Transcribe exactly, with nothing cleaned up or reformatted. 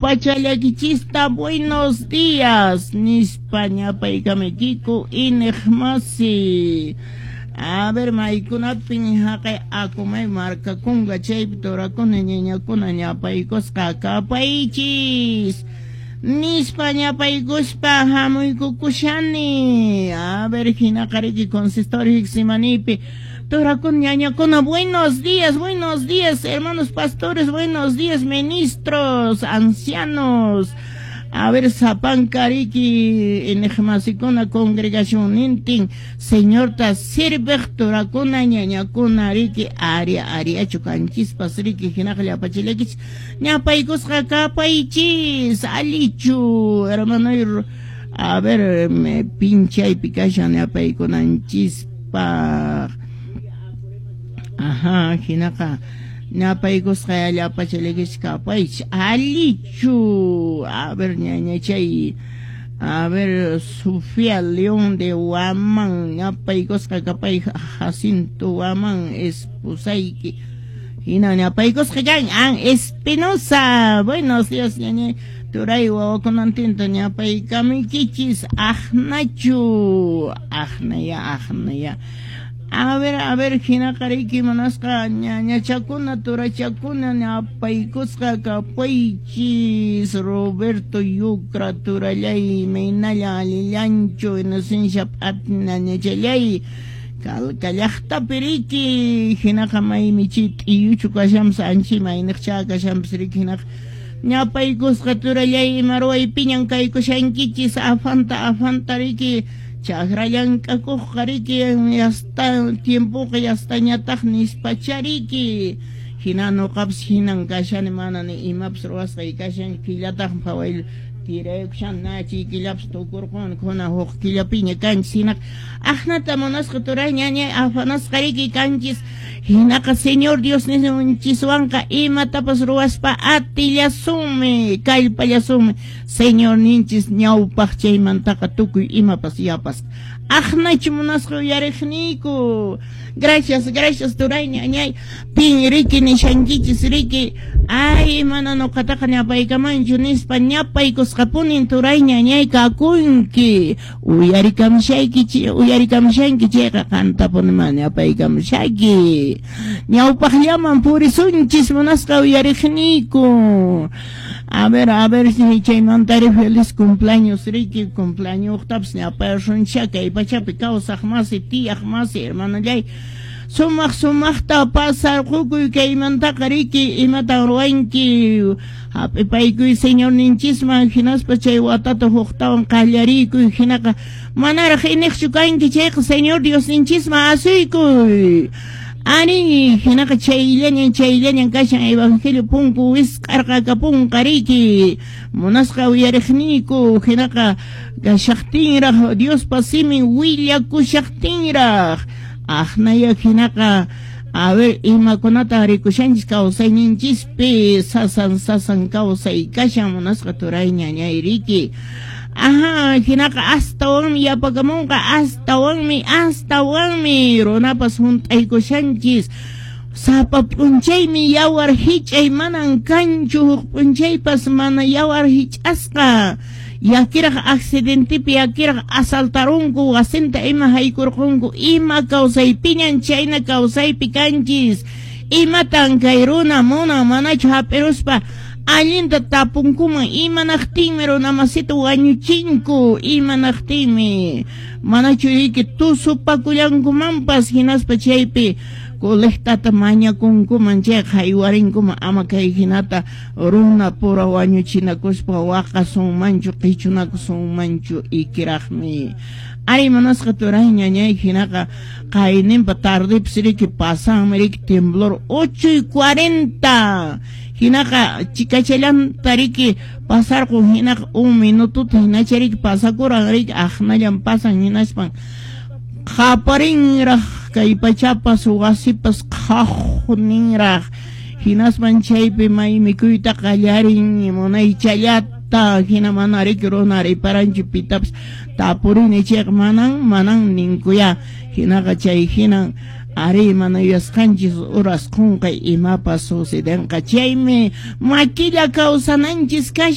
Llapachallakichista buenos días nispa ñapaykamuykiku iñiqmasi. A ver, maykunapin haqay akumay markakunqa chaypi turakuna ñañakuna ñapaykusqa kapaychis nispa ñapaykuspa hamuykukushani. A ver, hinaqa riki consistorio Getsemanípi turakuna ñañakuna, buenos días, buenos días, hermanos pastores, buenos días, ministros, ancianos. A ver, sapanka riki iñiqmasikuna congregación nintin Señorta sirviq turakuna ñañakuna riki aria ariachu kanchispas riki hinaqa llapachillakichis ñapaykusqa kapaychis allichu hermano. A ver, me pinchaypi kashan ñapaykunanchispaq. Ajá, hinaqa ñapaykusqa llapachallakichis kapaychis allichu. A ver, ñañachay, a ver, Sofía León de Huamán, ñapaykusqa kapay Jacinto Huamán esposayki hina ñapaykusqa kan An Espinosa, buenos días ñañay turay wawakunantinta ñapaykamuykichis aqnachu aqnaya aqnaya. A ver, a ver, hinaqa riki munasqa ñañachakuna turachakuna ñapaykusqa kapaychis. Roberto Yucra turallay maynalla allillanchu Inocencia p'atna ñañachallay Calca llaqtapi riki hinaqa maymi chay t'iyuchu kashanpas anchi mayniqcha kashanpas riki hinaqa ñapaykusqa turallay ima ruwaypiñan kaykushankichis afanta afanta riki chakra llank'akuqqa riki yasta tiempoqa yastañataq nispacha riki hina nuqapas hinan kashani mana ni imapas ruwasqay kashan killataq phaway tiraykushan nachi killapas tukurqun kuna huk killapiña kanchis hinaqa aqnata munasqa turay ñañay afanasqa riki kanchis hinaqa Señor Dios ninchiswanqa imatapas ruwaspa atillasunmi kallpallasunmi Señor ninchis ñawpaq chaymantaqa tukuy imapas yapas aqnachu munasqa uyariqniyku. Gracias, gracias turay ñañay pin riki nishankichis riki ay mana nuqataqa ñapaykamanchu nispa ñapaykusqapunin turay ñañay kakunki uyarikamushayki uyarikamushanki chayqa qantapuni mana ñapaykamushayki ñawpaqllaman purisunchis munasqa uyariqniyku. A ver, a ver, chaymantari feliz cumpleaños riki cumpleaños ñapaysuncha kay pachapi kawsaq masi tiyaq masi hermanallay sumaq sumaqta pasarqukuy kaymantaqa riki imatan ruwanki hap'ipaykuy Señor ninchisman hinaspa chay watata huktawan qallariykuy hinaqa manaraq iniqchu kanki chayqa Señor Dios ninchisman asuykuy. Ari, hinaqa chayllañan chayllañan kashan evangelio punku wisq'arqakapunqa riki munasqa uyariqniyku hinaqa kashaqtinraq Diospa simin willakushaqtinraq aqnaya hinaqa a ver imakunata rikushanchis kawsayninchispi sasan sasan kawsay kashan munasqa turay ñañay riki. Ajá, hinaqa astawanmi yapakamunqa astawanmi astawanmi runapas hunt'aykushanchis sapa p'unchaymi yawar hich'ay manan kanchu huk p'unchaypas mana yawar hich'asqa yakiraq accidentepi yakiraq asaltarunku wasinta ima haykurqunku ima kawsaypiñan chayna kawsaypi kanchis imatan kay runa munan manachu hap'iruspa allinta tapunkuman imanaqtinmi runamasita wañuchinku imanaqtinmi manachu riki tusupakullankumanpas hinaspa chaypi colectata mañakunkuman chayqa haywarinkuman ama kay hinata runa pura wañuchinakuspa waqasunmanchu qichunakusunmanchu ikiraqmi. Ari munasqa turay ñañay hinaqa qayninpa tardepis riki pasanmi riki temblor ocho y cuarenta hinaqa chikachallanta riki pasarqun hinaqa un minututa hinacha riki pasakuran riki aqnallan pasan hinaspan qaparinraq kay pachapas wasipas qhaqninraq hinaspan chaypi may mikuyta qallarin munaychallata hina mana riki runa riparanchu pitapas tapurini chayqa manan manan ninkuya hinaqa chay hinan ari mana yuyasqanchis uras qunqay imapas sucedenqa chaymi makilla kawsananchis kashan.